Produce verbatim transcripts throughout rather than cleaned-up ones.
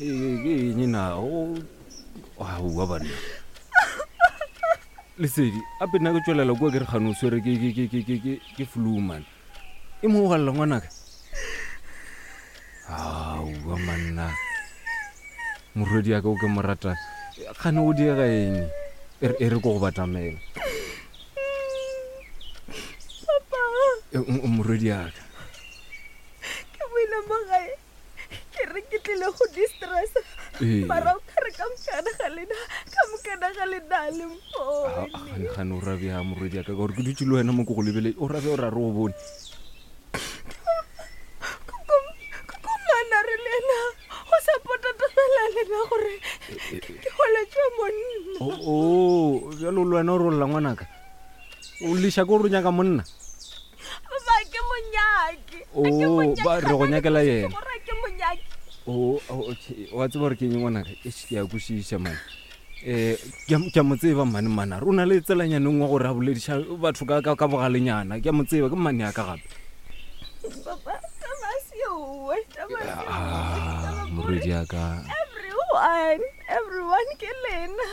Ke eng na o aowa banna Lesedi ape nna ke tswelela kua ke re kgane o swere ke ke ke ke ke ke ke flu man e mo galela ngwanaka. Aowa manna morwedi ya ka o ke mo ratang kgane o diega eng e re e re ko go batamela. Papa. E, m- morwedi ya ka Ke boile mo gae ke re ke tlile go distress Ee. mara o kare ka mokana ga lena ka mokana ga lena le Ah, mpone. gane gane o rabea morwedi ya ka ka gore ke dutse le wena mo ke go lebele o rabea o ra re o bone. Koko mana re le ena o support-a tabela lena gore ke holetswe monna. O o bjalo le wena o rolla ngwanaka o leša ke gore o nyaka monna. Ba ke monyaki. O, ba re go nyakela yena. Gore ke monyaki. O o, okay wa tseba gore ke eng ngwanaka. Eish, ke a kwešiša mane um ke a- ke a mo tseba mane manare o na le tselanyaneng wa gore a bolediša batho ka- ka ka bogalenyana ke a mo tseba ke mmane ya ka gape. Papa, taba se oe, taba se oe. Ah, Taba ke morwedi gore ya ka Everyone, everyone ke lena.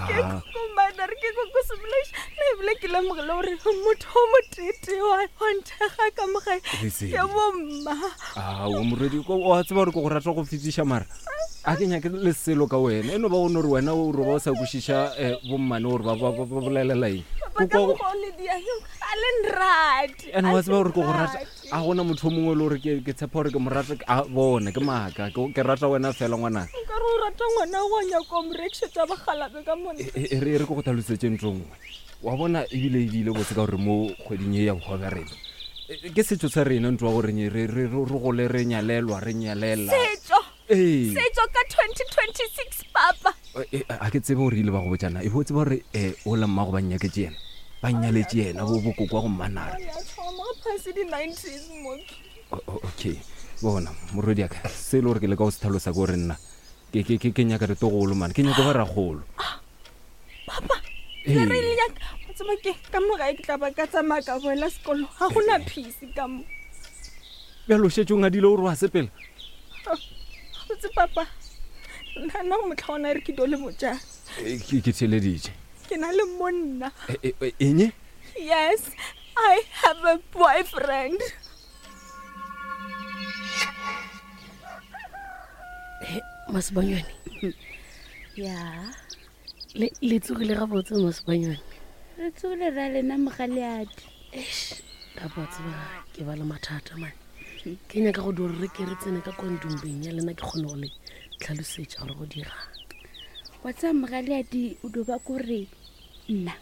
Ke Ah. koko mana re ke koko Semolaiši. Nna ebile ke lemogile gore motho o motete wa wa nthekga ka mo gae Lesedi. ke bomma. Aowa morwedi ko- wa tseba gore ke go rata go fetiša mara a ke nyake le selo ka wena e no ba o no re wena o roba o sa kwešiša um bommane gore ba ba- ba ba bolelela eng. Papa ka Ko- ko- mokgwa o le diang a le nrate. ene a wa le tseba gore ke go rata nrate. a gona motho o mongwe le gore ke ke tshepa gore ke mo rata a bona ke maaka ke ke rata wena fela ngwanaka. Nkare o rata ngwana wa nyaka o mo rekišetša bagalabe ka monna. E e re e re ke go tlhalosetse ntho nngwe wa bona ebile ebile botse ka gore mo kgweding e ya bohwa bja rena e, ke setso sa rena ntho wa goreng re re re re gole re nyalelwa re nyalela. Setso. Ee. Setso ka twenty twenty-six papa. E, a ke tsebe gore ile ba go botsana e bo tseba gore um ola mmago ba nnyaketse yena ba nnyaletse yena bo bokoko wa go mmanare. Ya thoma phase di-nineties moki. O- o- okay bona morwedi yaka se e le gore ke leka go se tlhalosa ke gore nna ke ke- ke ke nyaka ditogolo mane ke nyaka ba ragolo. Papa, Ee. le re le nyaka o tseba ke ka mo gae ke tla ba ka tsamaya ka boela sekolo ga gona peace ka mo. Bjalo o šetse o ngadile gore wa sepela. Botse papa, nna nna go motlha ona re ke dio le botjang. E, ke ke theeleditše. Ke na le monna. E, e, e, eng Yes, I have a boyfriend. Masebanyone. Ya. Le le tsogile gabotse Masebanyone. Re tsogile ra lena mogaleadi. Eish, kapa wa tseba ke ba le mathata mane. Ke nyaka go di gore re ke re tsene ka kwa ntumbeng ya lena ke kgone go le tlhalosetša gore go dira. Wa tseba mogaleadi o do ba kore nna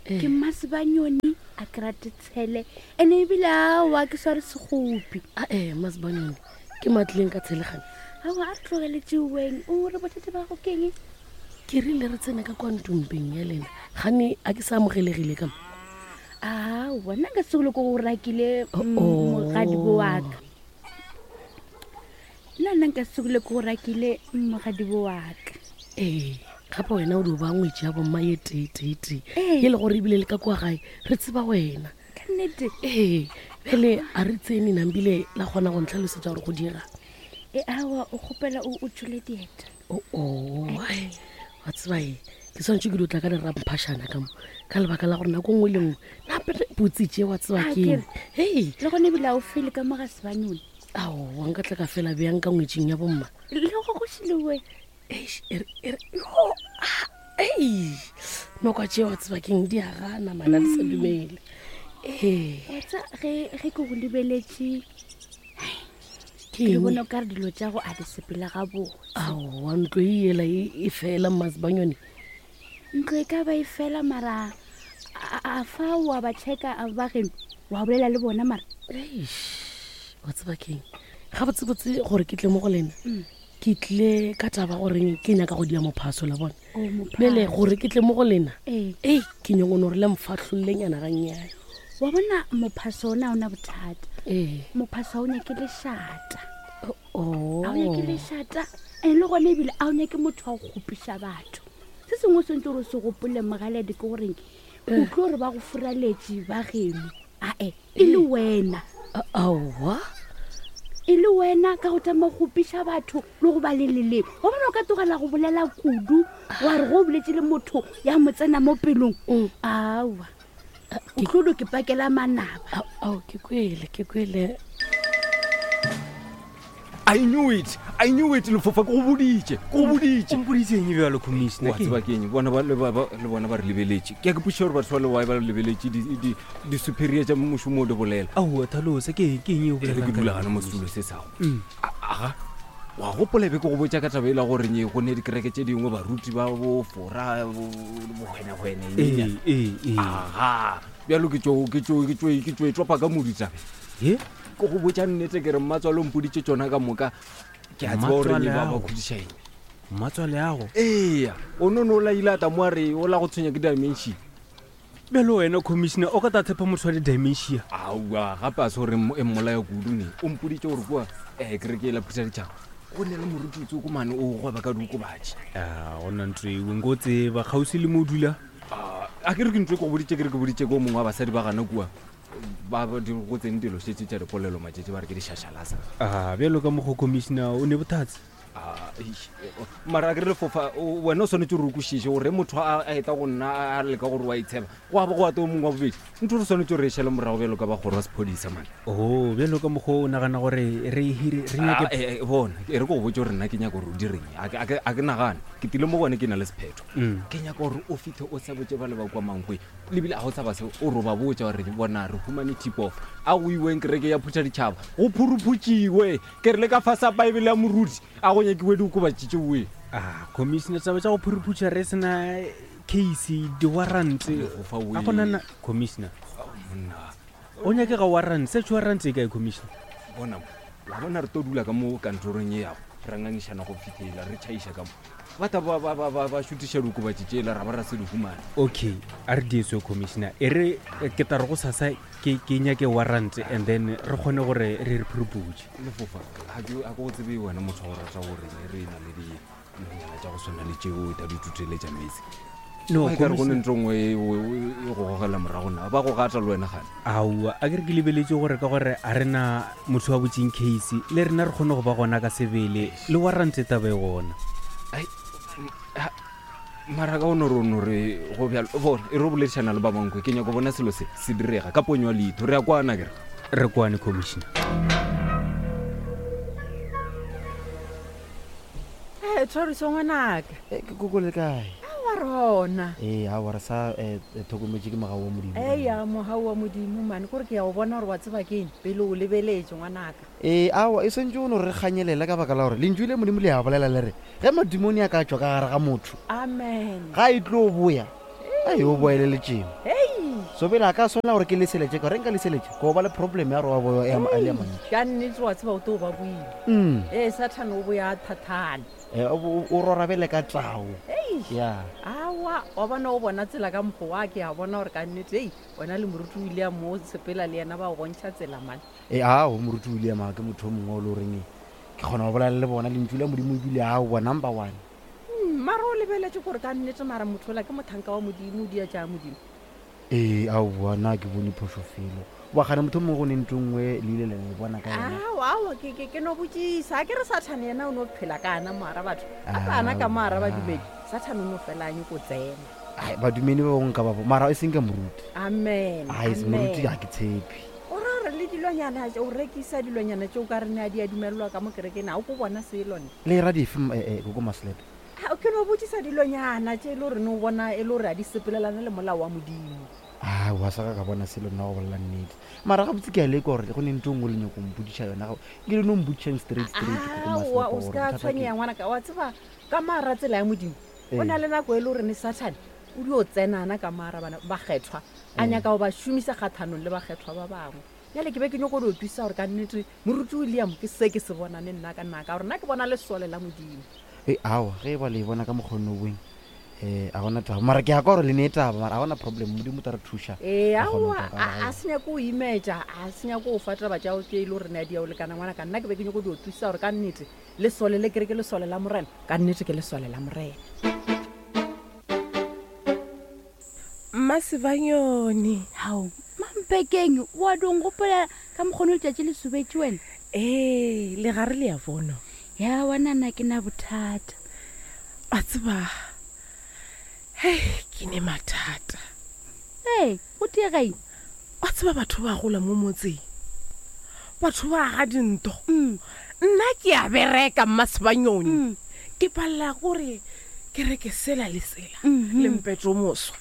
Eh. ke Masebanyone a ke rate tshele ene ebile aowa ke sware segopi. Ae Masebanyone ke matlileng ka tshelegane. Aowa a re tlogeletse weng o re bothata ba go keng? Ke rile re tsene ka kwa ntumbeng ya lena gane a ke sa amogelegile ka mo. Aowa nna nka sekolo ko go rakile Oh, oh. mogadibo wa ka. Nna nna nka sekolo ko go rakile mogadibo wa ka. Ee gape wena o di o ba ngwetši ya bomma ye tee tee tee Ee. e le gore ebile le ka kwa gae re tseba wena. Ka nnete. Ee bjale a re tsene nambile la kgona go ntlhalosetša gore go dira. E aowa o kgopela o o tšhole dieta. Oo ai, wa tseba e ke tshwanetse ke dio tla ka leramphašana ka mo ka lebaka la gore nako nngwe le nngwe nape potse tše wa tseba Ah, ke eng. ke Hei Le gone ebile a o fele ka mo ga Sebanyone. aowa nka tla ka fela bjang ka ngwetšing ya bomma. Le go go šile Eish, e re- e re- yo, ah, ei nokwa tše wa tseba keng di a gana mana di sa dumele. Ee Wa tseba ge ge ke go lebeletše ke ke eng? bona o ka re dilo tša go a di sepela gabotse. Aowa ntlo e ela e e fela Masebanyone. Ntlo e ka ba e fela mara a a fa wa ba checka a ba geno wa bolela le bona mara. Eish, wa tseba keng gabotsebotse gore ke tle mo go lena ke tlile ka taba goreng ke nyaka go dia mophaso la bona. O mophaso. Bjale gore ke tle mo go lena Ee. ei ke nyakone gore le mfatlhollenyana gannyane. Wa bona mophaso ona ha ona bothata. Ee. Mophaso ha o nyake lešata. Oh. Ha o nyake lešata and le gona ebile a o nyake motho wa go kgopiša batho. Se sengwe o swanetse gore o se gopole mogaledi ke goreng o tlo gore ba go furaletše ba geno ae e le wena. Aowa E le wena ka go tama go gopiša batho le go ba le leleme. Wa bona o ka tlogela go bolela kudu wa re go boletse le motho ya mo tsena mo pelong. Aowa. O tlo do ke pakela manaba. Ao, ke kwele, ke kwele. I knew it. I knew it lefofa ke go boditše. Ke go boditše. O mpoditše eng bjalo commissioner? Wa tseba ke eng? Bona ba le ba ba- le bona ba re lebeletše. Ke a ke potšiša gore batho ba le why ba re lebeletše di di di superior tša mošomo o di bolela. Aowa Thalosa ke eng ke eng e o E re bolelang ke ka dula yona, gana mo Commissioner? setulo se sago. Mm. Aga. Wa gopola be ke go botša ka taba e la gore nye go ne dikereke tše dingwe baruti ba bo fora bo bohwenehwene Ee, ee, ee. Aga. Bjalo ke tšo ke tšo ke tšo ke tšo e topa ka modu taba. He? Ke go botša nnete ke re mmatswalo o mpoditše tšona ka moka. Ke a tseba gore nye ba ba Mmatswale ao. kgodiša eng. Mmatswale ago. Eya, o no no la ile a tla mo a re o la go tshwenya ke dementia. Bjalo wena commissioner o ka ta tshepa motho wa di-dementia. Aowa, gape a se gore e mmolaya kudu ne. O mpoditše gore kua um kereke e la phutha ditšhaba. Go ne le moruti tsoko mane o gweba ka diokobatši. A gona ntho eo nko tseba kgauswi le mo o dula. Ah, a ke re ke ntho e ke go boditše ke re ke boditše ke o mongwe wa basadi ba gana kua. Ba ba di go tsene dilo šetse tša dipolelo matšatši ba re ke dišašalasa. A bjalo ka mokgwa commissioner o ne bothatse. Ah, eish, eh, oh, mara a ke re lefofa o- wena o swanetse gore o kwešiše gore motho a a eta go nna a leka gore wa itsheba go aba go ate o mongwe wa bobedi ntho re swanetse gore e šale morago bjalo ka bagoro wa sephodisa mane. Oh, bjalo ka mokgwa o nagana gore re hire re Ah, nyake eh, eh, bona e re ko go botse gore nna ke nyaka gore o direng a ke- a ke a ke nagane ke tile mo gone ke na le sephetho. Mm. Ke nyaka gore o fitlhe o sa botse ba le ba kwa Mankweng lebile a go tshaba se o ro ba botsa gore bona re humane tip off a go iweng kereke ya phutha ditšhaba go phuruphutsiwe ke re le ka fasa baebele ya moruti a go nyakiwe diokobatši tšeoe. Ah, commissioner taba tša go phuruphuša re sena case di-warrant. Lefofa A gona na commissioner. Monna O nyakega warrant, search warrant e kae commissioner? bona mo wa bona re tlo dula ka mo kantorong e yago ra ngangišana go fitlhela re tšhaiša ka mo ba ta ba- ba ba- ba ba šutiša diokobatši tšela ra ba ra se di humane. Okay, a re dieso commissioner. E re eh, ke tla re go sasa ke ke nyake warrant and then re kgone gore re re phuruphuše. Lefofa ga ke a ke go tsebe wena motho wa go rata gore re na le dinonyana tša go tshwana le tšeo ta di tuteletša metsi. No, Wa e ka re go ne commissioner. ntho nngwe e o- e e go gogela morago na ba go gata le wena gane. Aowa, a ke re ke lebeletse gore ka gore a rena motho wa botseng case le rena re kgone go ba gona ka sebele le warrant taba e gona. Ai, m- ha- mara ka o no re o no re go bjalo bona e re boledišana le ba bankwe ke nyako bona selo se se direga ka ponyo ya leitho re ya kwana kere. Re kwane commissioner. Ee, tshwariso ngwanaka. Eh, ke koko le kae? Aowa rona. Ee, aowa re sa eh, eh, tlhokometše ke mogau wa Modimo. Eya, mogau wa Modimo mane kore ke ya go bona gore wa tseba ke eng pele o lebeletse ngwanaka. Ee, aowa e swantse o no re kganyelela ka baka la gore lentšu le Modimo le a bolela le re ge madimone a ka tšwa ka gare ga motho Amen. ga e tlo boya a yo boeleletšeng. Hei. So pele a ka swanela gore ke leseletse ka gore nka leseletse ko ba le problem ya gore wa boya ya a le a mantši. Ka nnete wa tseba o tlo ba boile. Mm. Ee, Sathane o boya a thathane. Eh, o o- o rorabele ka tao. Hei. Ya. Aowa, wa bona o bona tsela ka mokgwa wa ke a bona gore ka nnete ei wena le moruti o ile a mo sepela le yena ba o bontšha tsela mane. Ee, ao moruti William a ke motho o mongwe o le goreng ke kgona go bolela le bona lentšu la Modimo ebile aowa number one. Mm, mara o lebeletse gore ka nnete mara motho ola ke mothanka wa Modimo o dia tša Modimo. Ee, aowa nna ke bone phošo felo wa gane motho o mongwe go ne ntho nngwe le ile la e bona ka yona. Aowa, aowa ke ke ke no botsisa a ke re Sathane yena o no phela ka ana moara batho a ka ana ka moara badumedi Sathane o no fela a nyako tsena. Ai, badumedi ba bangwe ka ba bo mara e seng ka moruti. Amen. Ai, se moruti amen. ga ke tshepe. O ra gore le dilonyana tše- o rekisa dilonyana tše o ka re ne a di a dumelelwa ka mo kerekeng a o ko bona selo ne. Le ra dife m- eh, eh, koko Maslepe? A, ke no botsisa dilonyana tše e le gore ne o bona e le gore a di sepelelane le molao wa Modimo. Aowa sa ka ka bona selo nna go bolela nnete mara gabotse ke a leka gore go ne ntho nngwe le nyako mpodiša yona ga- ke le no mpodišang straight straight koko Aowa Maslepe o gore se ka bothata ke tshwenyega ngwanaka wa tseba ka maara tsela ya Modimo o Ee. na le nako e le gore ne Sathane o dio tsenana ka maara bana bakgethwa a Ee. nyaka go ba šomisa kgathanong le bakgethwa ba bangwe. Bjale ke be ke nyako go twisa gore ka nnete moruti William ke se ke se bonane nna ka nna ka gore nna ke bona lesole la Modimo. Ee, aowa ge e ba le e bona ka mokgonne o boeng um a gona taba mara ke ya ka gore le ne taba mara a gona problem Modimo o tla re thuša. Ee, Ra kgona ho aowa tla ka a a gae. se nyake go imetša a se nyake go fa taba tšao tše e le gore ne a di ya o lekana ngwana ka nna ke be ke nyako dio thusa gore ka nnete lesole le kere ke lesole la Morena ka nnete ke lesole la Morena. Mmasebanyone. Hao, mampekeng wa dong gopola ka mokgone letšatši le sobetše wena. Ee, le gare le ya bono. Ya wanana ke na bothata. A tseba. Hei, ke ne mathata. Ee, go tiega eng? Wa tseba batho ba gola mo motseng. Batho ba aga dinto. Mm. Nna ke a bereka mmasebanyoni. Mm. Ke palela gore ke reke sela le sela Mhm. le mpetso moswa.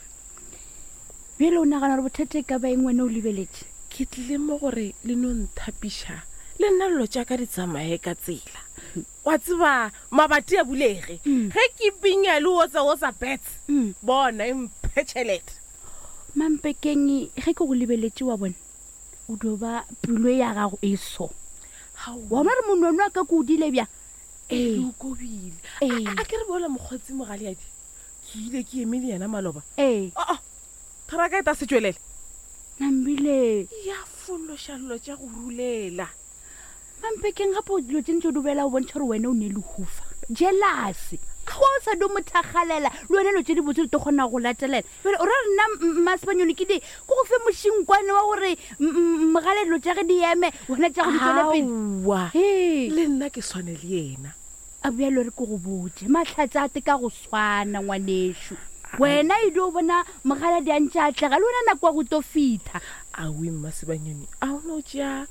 Bjale o nagana gore bothata e ka ba eng wena o lebeletše? Ke tlile mo gore le no nthapiša le nna dilo tša ka di tsamaye ka tsela. Wa tseba mabati a bulege. Ge ke pinya le otsa otsa bets. Mm. Bona e mphe tšhelete. Mampekeng ge ke go lebeletše wa bona o dio ba pelo ya gago e so. Wa bona gore monwano wa ka ke o dile bjang? Ee, Ee. o kobile. Ee. A ke re bola mokgotsi mogaleadi. Ke ile ke eme le yena maloba. Ee. Oo, tharaka e ta se tšwelele. Nambile. Ya fološa dilo tša go rulela. Mampekeng gape o dilo tše ntse o di bolela o bontšha gore wena o ne lehufa. Jealous. Go o sa do mothakgalela le wena dilo tše di botse di tlo kgona go latelela. Bjale o ra re nna mmasebanyone ke di ke go fe mošinkwane wa gore m- m- mogale dilo tša ge di eme wena tša go di tswele pele. Aowa. Hee. Le nna ke swane le yena. A bjalo re ke go botse mahlatse a te ka go swana ngwanešu. Wena e dio bona mogaladi a ntše a atlega le wena nako ya go tlo fitha. Aowi mmasebanyone, a o no tšea